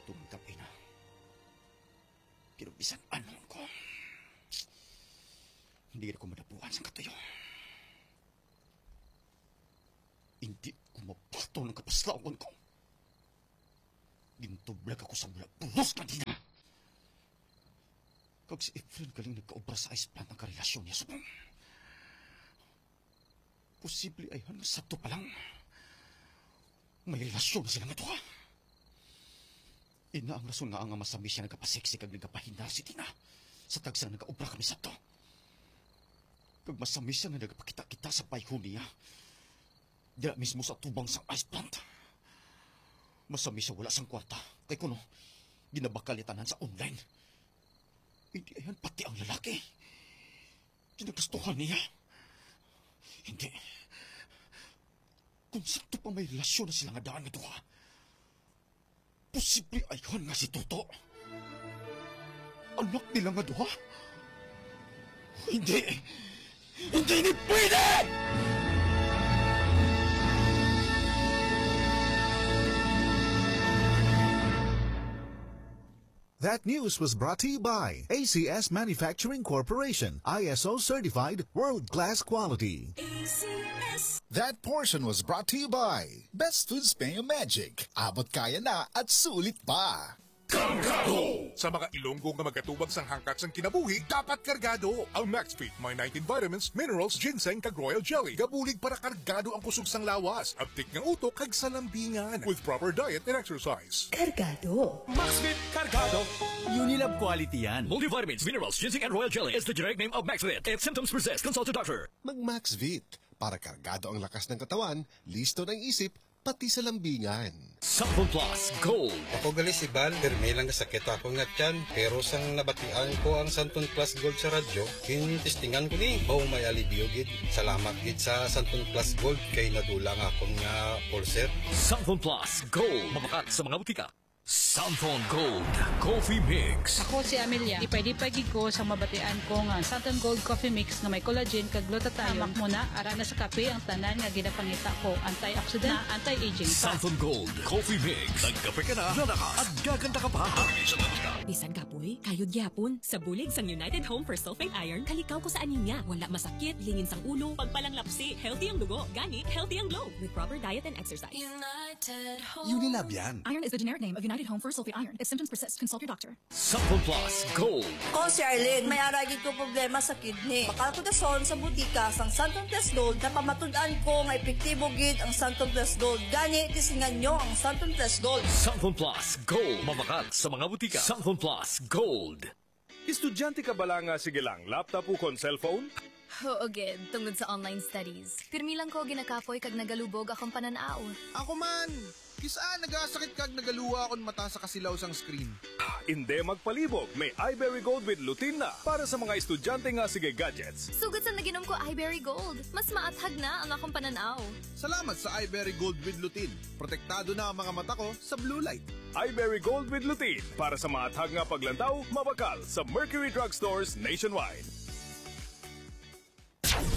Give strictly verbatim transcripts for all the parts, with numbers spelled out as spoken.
Tungod kay na, pero bisan ano ko, hindi ko madapuan sa katuyo. Hindi ko mabaton ang kapaslawan ko. Gintublag ako sa wala pulos kanina. Kag si Efren galing nagkaobra sa ice plant ang karelasyon niya subong. Posible ayhan nga sakto pa lang. May relasyon na sila nga duha. Ina ang rason nga ang masami siya nagapaseksi kag nagapahinar si Tina sa tagsa nga nagaobra kami sabto. Kag masami siya nga nagapakita-kita sa bayho niya. Dira mismo sa tubang sang ice plant. Masami siya wala sang kwarta. Kay kuno, ginabakal niya tanan sa online. Hindi ayan pati ang lalaki. Ginagastuhan niya. Hindi. Kung sakto pa may relasyon na sila nga daan nga duha, posible ayhan nga si Toto. Anak nila nga duha? Hindi. Hindi ni pwede! That news was brought to you by A C S Manufacturing Corporation, I S O certified, world-class quality. A C S. That portion was brought to you by Best Foods Mayo Magic. Abot kaya na at sulit pa. Kargado! Sa mga Ilonggo nga magatubag sang hangkak sang kinabuhi, dapat kargado. Ang Maxfit may nineteen vitamins, minerals, ginseng, kag royal jelly. Gabulig para kargado ang kusog sang lawas, abtik nga utok, kag sa lambingan. With proper diet and exercise. Kargado. Maxfit Kargado. Unilab quality yan. Multivitamins, minerals, ginseng, and royal jelly is the generic name of Maxfit. If symptoms persist, consult a doctor. Mag-Maxvit para kargado ang lakas ng katawan, listo ng isip, pati sa lambingan. Santon Plus Gold. Ako gali si Val, pirmi lang nga sakit ako nga tiyan, pero sang nabatian ko ang Santon Plus Gold sa radyo, ginistingan ko ni, oh, may alibyo gid. Salamat gid sa Santon Plus Gold kay nadula nga akon nga ulcer. Santon Plus Gold, mabakat sa mga butika. Santon Gold Coffee Mix. Ako si Amelia. Ipay-dipay gid ko sa mabatian ko nga Santon Gold Coffee Mix nga may collagen kag glutathione. Hamak mo na, ara na sa kape ang tanan nga ginapangita ko. Antioxidant, anti-aging pa. Santon Gold Coffee Mix. Nagkape ka na, lalakas, at gaganda ka pa. Bisan kapoy, kayod gyapon. Sa bulig sang United Home for Sulfate Iron, kalikaw ko sa anemia. Wala masakit, lingin sang ulo, pagpalanglapsi, healthy ang dugo, gani, healthy ang glow. With proper diet and exercise. United Home. Unilab yan. Iron is the generic name of United Home for Sulfate Iron. If symptoms persist, consult your doctor. Santon Plus Gold. Ko si Arlene, may ara gid ko problema sa kidney. Bakal ko dason sa butika sang Santon Plus Gold, napamatud-an ko nga epektibo gid ang Santon Plus Gold. Gani, tisingan nyo ang Santon Plus Gold. Santon Plus Gold. Mabakal sa mga butika. Santon Plus Gold. Estudyante ka bala nga sige lang laptop ukon cellphone? Huo gid, tungod sa online studies. Pirmi lang ko ginakapoy kag nagalubog akong panan-aw. Ako man! Kis-a nagasakit kag nagaluwa akon mata sa kasilaw sang screen. Indi magpalibog, may Iberry Gold with Lutein na para sa mga estudyante nga sige gadgets. Sugod sa naginom ko Iberry Gold, mas maathag na ang akong panan-aw. Salamat sa Iberry Gold with Lutein. Protektado na ang mga mata ko sa blue light. Iberry Gold with Lutein para sa maathag nga paglantaw, mabakal sa Mercury Drug Stores nationwide.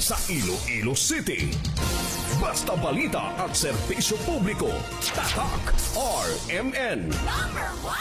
Sa Iloilo City, basta balita at serbisyo publiko, tatak R M N.